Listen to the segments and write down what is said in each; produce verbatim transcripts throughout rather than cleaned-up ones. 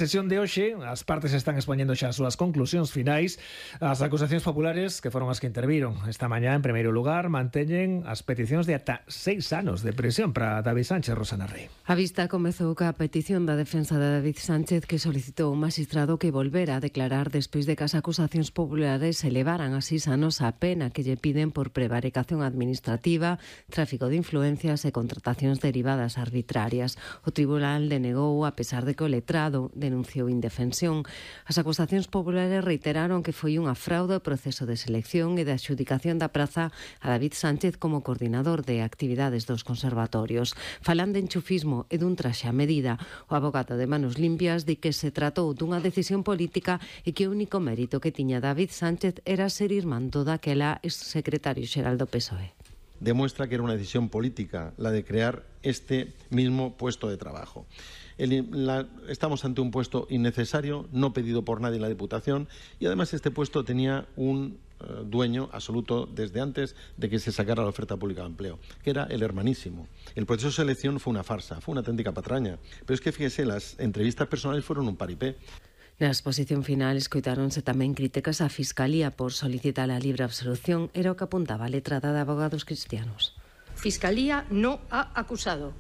Sesión de hoxe, as partes están expoñendo xa as súas conclusións finais. As acusacións populares, que foron as que interviron esta mañá, en primeiro lugar, manteñen as peticións de ata seis anos de prisión para David Sánchez. Rosana Rey. A vista comezou ca petición da defensa de David Sánchez, que solicitou un magistrado que volvera a declarar despois de que as acusacións populares elevaran a seis anos a pena que lle piden por prevaricación administrativa, tráfico de influencias e contratacións derivadas arbitrarias. O tribunal denegou, a pesar de que o letrado de denunciou indefensión. As acusacións populares reiteraron que foi unha fraude o proceso de selección e de adxudicación da praza a David Sánchez como coordinador de actividades dos conservatorios. Falan de enchufismo e dun traxe a medida. O avogado de Manos Limpias di que se tratou dunha decisión política e que o único mérito que tiña David Sánchez era ser irmán do daquela exsecretario xeral do P S O E. Demuestra que era una decisión política la de crear este mismo puesto de trabajo. El, la, estamos ante un puesto innecesario, no pedido por nadie en la Diputación, y además este puesto tenía un uh, dueño absoluto desde antes de que se sacara la oferta pública de empleo, que era el hermanísimo. El proceso de selección fue una farsa, fue una auténtica patraña, pero es que fíjese, las entrevistas personales fueron un paripé. Na exposición final escoitáronse tamén críticas á Fiscalía por solicitar a libre absolución, era o que apuntaba a letrada de Abogados Cristianos. Fiscalía no ha acusado.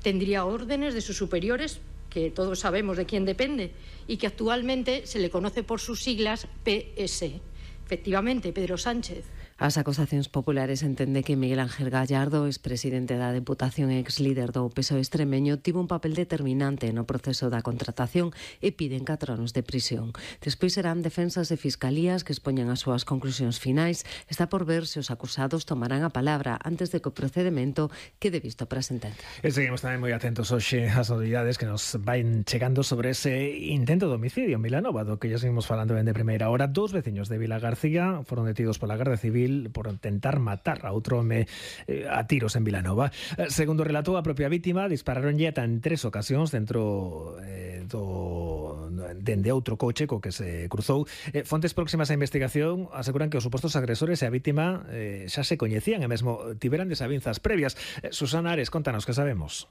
Tendría órdenes de sus superiores, que todos sabemos de quién depende, y que actualmente se le conoce por sus siglas P S. Efectivamente, Pedro Sánchez. As acusacións populares entende que Miguel Ángel Gallardo, expresidente da Deputación e ex-líder do P S O E extremeño, tivo un papel determinante no proceso da contratación e piden catro anos de prisión. Despois serán defensas e fiscalías que expoñan as súas conclusións finais. Está por ver se os acusados tomarán a palabra antes de que o procedemento quede visto para a sentencia. E seguimos tamén moi atentos hoxe ás novidades que nos van chegando sobre ese intento de homicidio en Vilanova, do que ya seguimos falando ben de primeira hora. Dous veciños de Vila García foron detidos pola Garda Civil por intentar matar a outro home eh, a tiros en Vilanova. Eh, segundo relatou a propia vítima, dispararonlle ata en tres ocasións dentro eh, do dende outro coche co que se cruzou. Eh, fontes próximas á investigación aseguran que os supostos agresores e a vítima eh, xa se coñecían e mesmo tiveran desavinzas previas. Eh, Susana Ares, contanos que sabemos.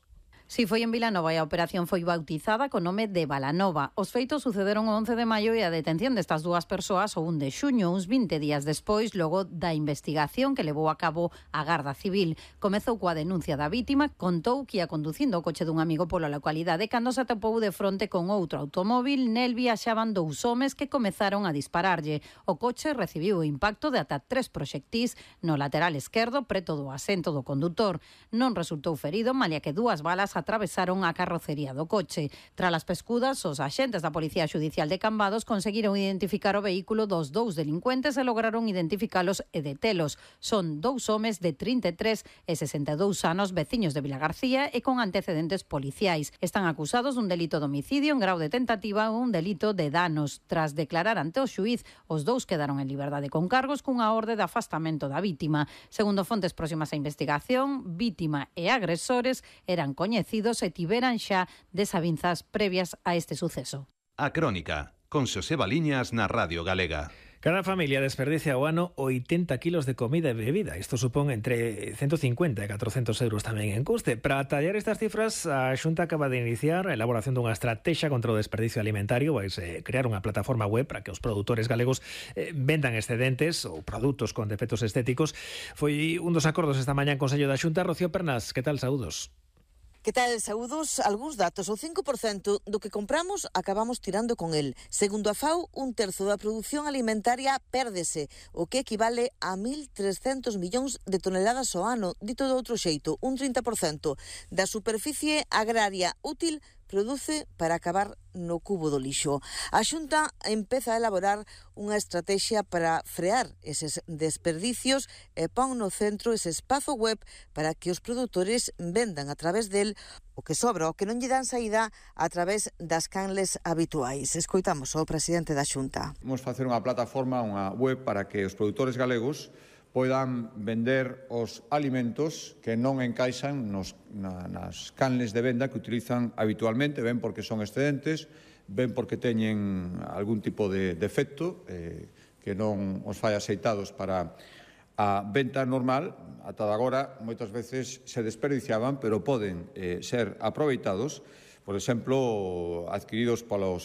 Si foi en Vilanova e a operación foi bautizada co nome de Balanova. Os feitos sucederon o once de maio e a detención destas dúas persoas o un de xuño, uns vinte días despois, logo da investigación que levou a cabo a Garda Civil. Comezou coa denuncia da vítima, contou que ia conducindo o coche dun amigo pola localidade cando se atopou de fronte con outro automóvil. Nel viaxaban dous homes que comezaron a dispararlle. O coche recibiu o impacto de ata tres proxectís no lateral esquerdo preto do asento do condutor. Non resultou ferido, malia que dúas balas atravesaron a carrocería do coche. Tras as pescudas, os axentes da Policía Xudicial de Cambados conseguiron identificar o vehículo dos dous delincuentes e lograron identificalos e detelos. Son dous homes de trinta e tres e sesenta e dous anos, veciños de Vilagarcía e con antecedentes policiais. Están acusados dun delito de homicidio en grau de tentativa ou un delito de danos. Tras declarar ante o xuíz, os dous quedaron en liberdade con cargos cunha orde de afastamento da vítima. Segundo fontes próximas á investigación, vítima e agresores eran coñecidos e tiveran xa desavinzas previas a este suceso. A Crónica, con Xosé Baliñas na Radio Galega. Cada familia desperdicia ao ano oitenta kilos de comida e bebida. Isto supón entre ciento cincuenta e catrocentos euros tamén en custe. Para tallar estas cifras, a Xunta acaba de iniciar a elaboración dunha estrategia contra o desperdicio alimentario. Vai crear unha plataforma web para que os produtores galegos eh, vendan excedentes ou produtos con defectos estéticos. Foi un dos acordos esta mañá en Consello da Xunta. Rocío Pernas, que tal? Saúdos. Que tal, saúdos? Algúns datos. O cinco por cento do que compramos acabamos tirando con el. Segundo a FAO, un terzo da produción alimentaria pérdese, o que equivale a mil trescentos millóns de toneladas ao ano. Dito de outro xeito, un trinta por cento da superficie agraria útil produce para acabar no cubo do lixo. A Xunta empeza a elaborar unha estrategia para frear eses desperdicios e pon no centro ese espazo web para que os produtores vendan a través del o que sobra, o que non lle dan saída a través das canles habituais. Escoitamos ao presidente da Xunta. Vamos facer unha plataforma, unha web para que os produtores galegos poidan vender os alimentos que non encaixan nos, na, nas canles de venda que utilizan habitualmente, ben porque son excedentes, ben porque teñen algún tipo de defecto eh, que non os fai aceitados para a venta normal. Ata agora moitas veces se desperdiciaban, pero poden eh, ser aproveitados, por exemplo, adquiridos polos